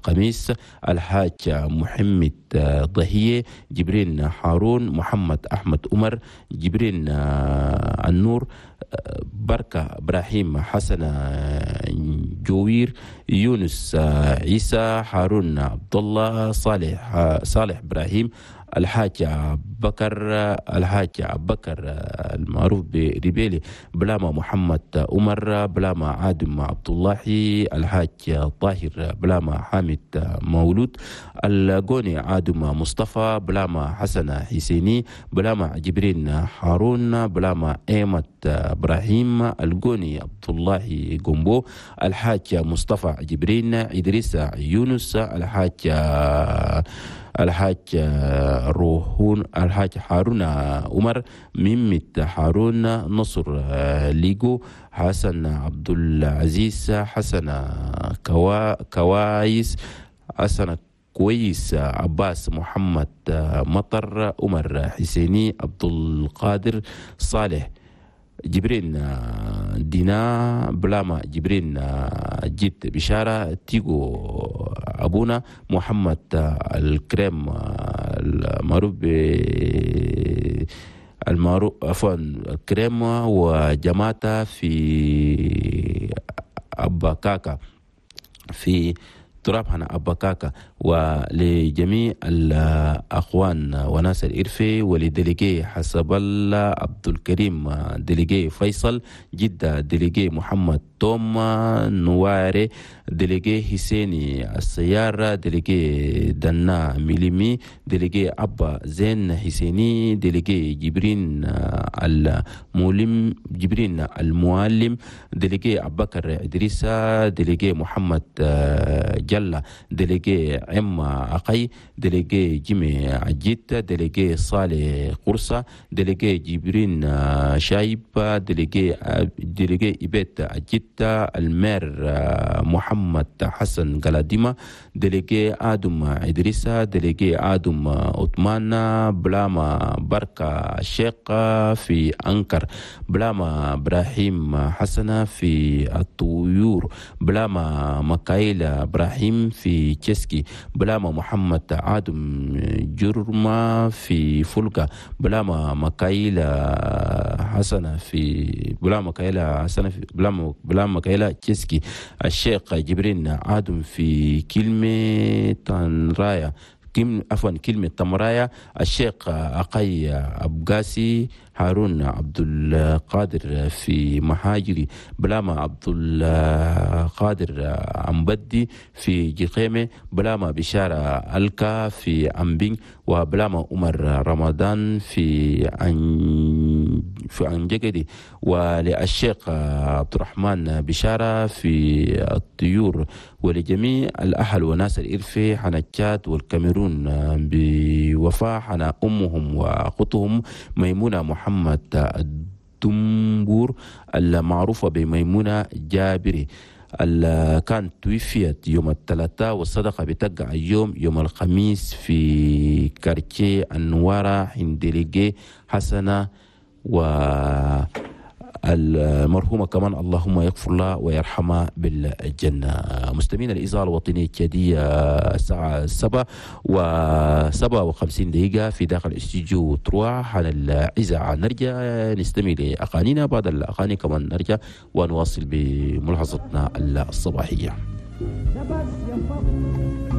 الخميس، الحاج محمد ضهية، جبرين هارون، محمد أحمد عمر، جبرين النور، بركة إبراهيم، حسن جوير، يونس عيسى، هارون عبد الله، صالح إبراهيم، الحاج بكر، الحاج بكر المعروف بريبيلي، بلاما محمد عمر، بلاما عادم عبد الله، الحاج طاهر، بلاما حامد مولود، القوني عادم مصطفى، بلاما حسن حسيني، بلاما جبرين هارون، بلاما ايمت ابراهيم، القوني عبد الله جومبو، الحاج مصطفى جبرين، ادريس يونس، الحاج روحون، الحاج هارون عمر، ميمت هارون، نصر ليجو، حسن عبد العزيز، حسن كوايس، حسن كويس، عباس محمد مطر، عمر حسيني، عبد القادر صالح، جبرين دينا، بلاما جبرين جيت بشارة، تيجو أبونا، محمد الكريم المعروف المعروف عفوا الكريم وجماعته في أبا كاكا في تراب هنا أبا كاكا. ولجميع الأخوان وناس الإرفي، ول délégué حسب الله عبد الكريم، délégué فيصل جدة، délégué محمد توم نواري، délégué حسيني السيارة، délégué دنا ميليمي، délégué أبا زين حسيني، délégué جبرين المولم، جبرين المعلم، délégué أبو بكر إدريسة، délégué محمد جلة، délégué عم عقي، délégué جيمي عجيت، délégué صالح قرصة، délégué جبرين شايب، délégué إبيت عجيت، ال maire محمد حسن قلاديمة، délégué آدم إدريسة، délégué آدم عثمان، بلاما بركة الشيخ في أنكر، بلاما إبراهيم حسنة في الطيور، بلاما مكايل إبراهيم في تشيسكي، بلاما محمد آدم جرما في فلقة، بلاما مكايل حسنة في بلاما مكايل حسنة في بلاما مكايل تشيسكي، الشيخ جبرين آدم في كلمة تنرايا، عفوا كلمة تمرايا، الشيخ أقي أبقاسي، هارون عبد القادر في محاجري، بلاما عبد القادر أمبدي في جقيمة، بلاما بشارة ألكا في أمبين، وبلاما عمر رمضان في أنجقدي، وللشيخ عبد الرحمن بشارة في الطيور، ولجميع الأهل وناس الإرفي حنا تشاد والكاميرون بوفاء حنا أمهم وأختهم ميمونة محمد الدنبور المعروفة بميمونة جابري، كانت توفيت يوم الثلاثاء، والصدقة بتقع يوم الخميس في quartier النوارة عند délégué حسنة، و المرحومة كمان اللهم يغفر لها ويرحمها بالجنة. مستمعين الإذاعة الوطنية التشادية، الساعة 7:57 في داخل استوديو trois على الإذاعة. نرجع نستمع لأغانينا، بعد الأغاني كمان نرجع ونواصل بملاحظتنا الصباحية.